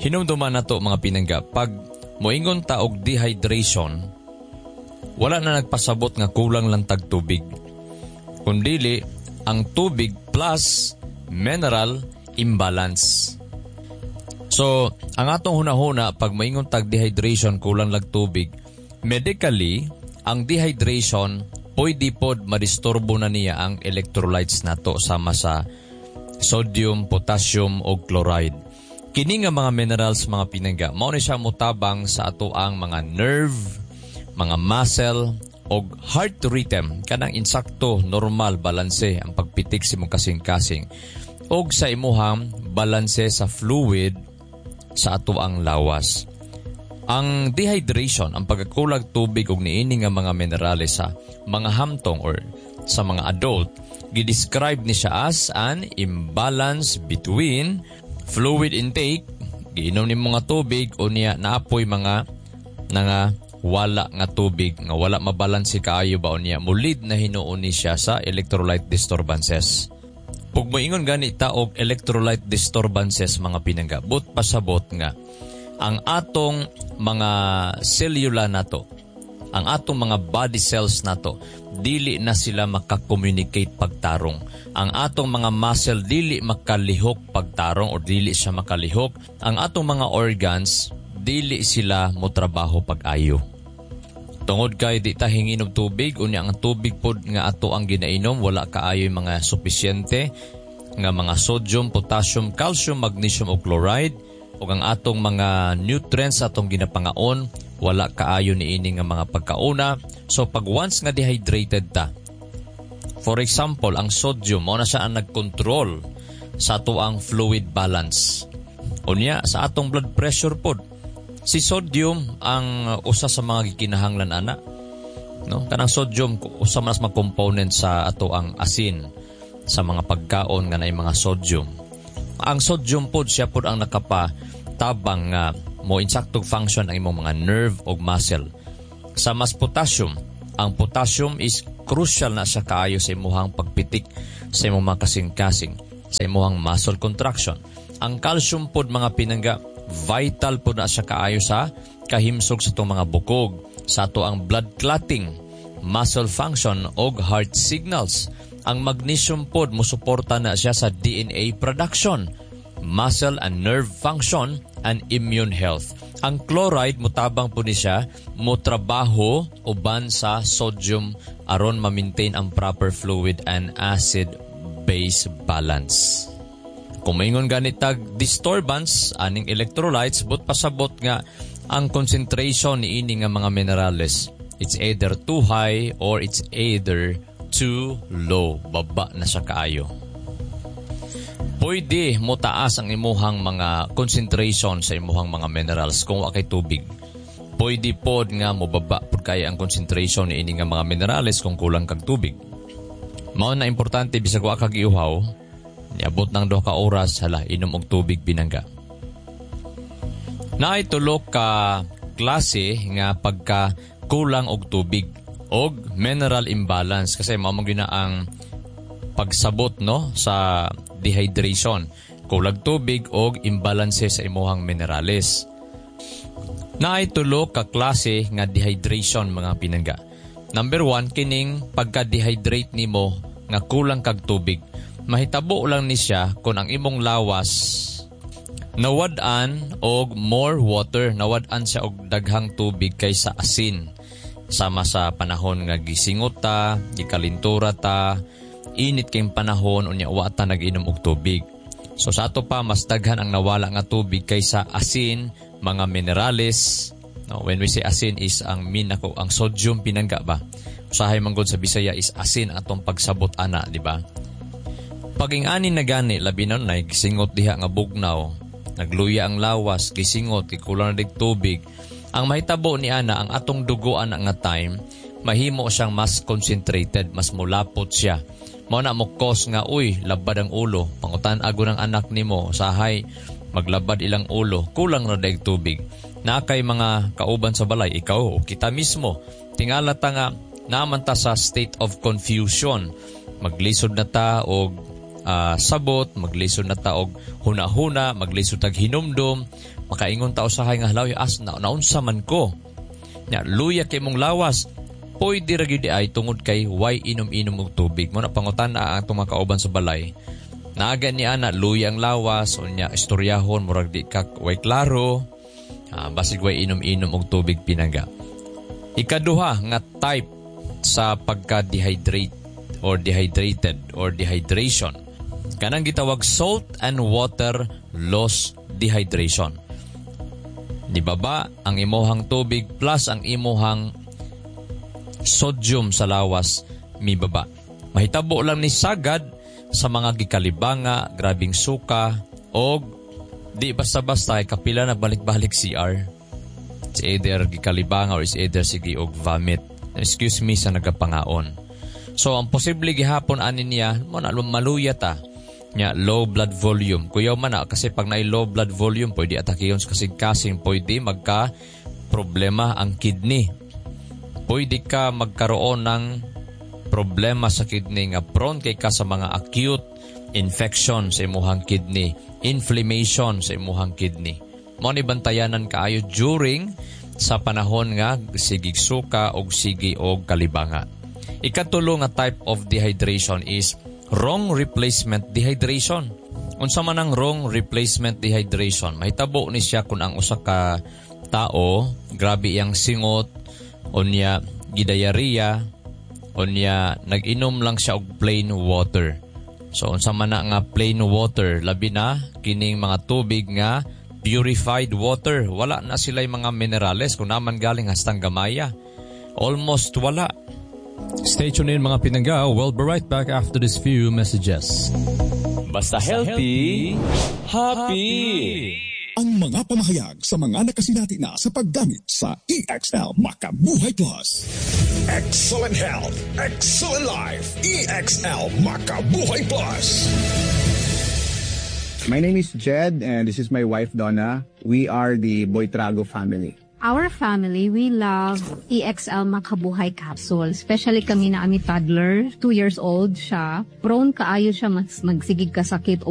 Hinumduman nato, mga pinangga, pag moingon ta og dehydration, wala na nagpasabot nga kulang lang tag tubig. Kundili, ang tubig plus mineral imbalance. So, ang atong hunahuna pag moingon tag dehydration, kulang lag tubig. Medically, ang dehydration pwede pod madisturbo na niya ang electrolytes nato sama sa sodium, potassium o chloride. Kini nga mga minerals, mga pinangga, mao ni siya motabang sa ato ang mga nerve, mga muscle og heart rhythm, kanang insakto, normal balanse ang pagpitik sa imong kasing-kasing og sa imuhang balanse sa fluid sa ato ang lawas. Ang dehydration, ang pagkakulag tubig og niini nga mga minerales sa mga hamtong or sa mga adult, gidescribe ni siya as an imbalance between fluid intake, giinom nimo nga tubig unya naapoy mga nanga wala nga tubig nga wala mabalanse kaayo ba, unya mulid na hinuon ni siya sa electrolyte disturbances. Pug moingon gani ta og electrolyte disturbances, mga pinangga, but pasabot nga ang atong mga selula nato, ang atong mga body cells nato, dili na sila makakommunicate pagtarong. Ang atong mga muscle dili makalihok pagtarong or dili siya makalihok. Ang atong mga organs dili sila motrabaho pag-ayo. Tungod kay di ta hinginom tubig, unya ang tubig pod nga ato ang ginainom wala kaayo mga supisyente nga mga sodium, potassium, calcium, magnesium o chloride, ug ang atong mga nutrients atong ginapangaon wala kaayo niini nga mga pagkauna. So pag once nga dehydrated ta, for example, ang sodium mao na siya ang nagkontrol sa ato ang fluid balance. Unya sa atong blood pressure pod, si sodium ang usa sa mga gikinahanglan ana. No? Kanang sodium usa man sa mga component sa ato ang asin sa mga pagkaon nga naay mga sodium. Ang sodium pod, siya pod ang nakapatabang nga mo insaktog function ang imong mga nerve ug muscle. Sa mas potassium, ang potassium is crucial na siya kaayo sa imuhang pagpitik sa imong mga kasing-kasing, sa imuhang muscle contraction. Ang calcium pod, mga pinangga, vital pod na siya kaayo sa kahimsog sa itong mga bukog, sa ato ang blood clotting, muscle function og heart signals. Ang magnesium pod mosuporta na siya sa DNA production, muscle and nerve function, and immune health. Ang chloride mutabang po ni siya motrabaho uban sa sodium aron ma-maintain ang proper fluid and acid base balance. Kung maingon ganit tag disturbance aning electrolytes, but pasabot nga ang concentration niini nga mga minerales, it's either too high or it's either too low, baba na siya kaayo. Pwede mo taas ang imuhang mga concentration sa imuhang mga minerals kung wa kay tubig. Pwede pod nga mobaba pod kaya ang concentration niini nga mga minerales kung kulang kag tubig. Mao na importante, bisag wa kag iuhaw, niabot ng 2 ka oras, hala, inom og tubig, pinangga. Naay tulo ka klase nga pagka kulang og tubig og mineral imbalance kasi mao man gyud na ang pagsabot, no, sa dehydration, kulag tubig og imbalance sa imuhang minerales. Naay tulo ka klase nga dehydration, mga pinangga. Number 1, kining pagka-dehydrate nimo nga kulang kag tubig. Mahitabo lang ni siya kung ang imong lawas nawad-an og more water, nawad-an siya og daghang tubig kaysa asin. Sama sa panahon nga gisingot ta, gikalintura ta, init kayong panahon, unya wa ta nag-inom og tubig. So sa ato pa mas daghan ang nawala nga tubig kaysa asin, mga minerales. No, when we say asin is ang min ako ang sodium, pinangga ba. Usahay man gud sa Bisaya is asin atong pagsabot ana, di ba? Pag ingani na gani, labi na gisingot diha nga bugnaw, nagluya ang lawas, gisingot, gikulang na dig tubig. Ang mahitabo ni ana, ang atong dugo ana nga time, mahimo siyang mas concentrated, mas mulapot siya. Mao na mo cause nga, uy, labad ang ulo. Pangutan ago ng anak nimo, sahay maglabad ilang ulo, kulang na daig tubig. Na kay mga kauban sa balay, ikaw o kita mismo, tingala ta nga naman ta sa state of confusion. Maglisod na ta og sabot, maglisod na ta og huna-huna, maglisod tag hinumdum, makaingon ta usahay nga halaw as na naunsa man ko. Nya luya kay mong lawas, pwede ra gyud ay tungod kay way inom-inom og tubig. Mo na pangutan ang atong mga kauban sa balay. Naaga ni ana luya ang lawas, unya istoryahon murag di ka way klaro, basig way inom-inom og tubig, pinangga. Ikaduha nga type sa pagka-dehydrate or dehydrated or dehydration, kanang gitawag salt and water loss dehydration. Di ba ang imuhang tubig plus ang imuhang sodium sa lawas mibaba? Mahitabo lang ni sagad sa mga gikalibanga, grabing suka, og di basta-basta ay kapila na balik-balik CR. It's either gikalibanga or it's either sige og vomit. Excuse me sa nagapangaon. So ang posible gihapon ani niya mo na maluya ta. Nya low blood volume. Kuyaw man na kasi pag naay low blood volume, pwede atakiyon sa kasing-kasing, pwede magka problema ang kidney. Pwede ka magkaroon ng problema sa kidney nga prone kay ka sa mga acute infection sa imuhang kidney, inflammation sa imuhang kidney. Mao ni bantayanan kaayo during sa panahon nga sigig suka og sige og kalibanga. Ikatulo nga type of dehydration is wrong replacement dehydration. Unsa man ang wrong replacement dehydration? Mahitabo ni siya kung ang usa ka tao grabe iyang singot, unya gidayariya, unya nag-inom lang siya og plain water. So unsa man na nga plain water, labi na kining mga tubig nga purified water, wala na sila mga minerales kung naman galing hastang gamaya. Almost wala. Stay tuned in, mga pinangga. We'll be right back after these few messages. Basta healthy, happy. Ang mga pamahayag sa mga nakasinati na sa paggamit sa EXL Makabuhay Plus. Excellent health, excellent life. EXL Makabuhay Plus. My name is Jed and this is my wife Donna. We are the Boytrago family. Our family, we love EXL Makabuhay Capsule. Especially kami na ami toddler, 2 years old siya. Prone kaayo siya mas magsigig kasakit.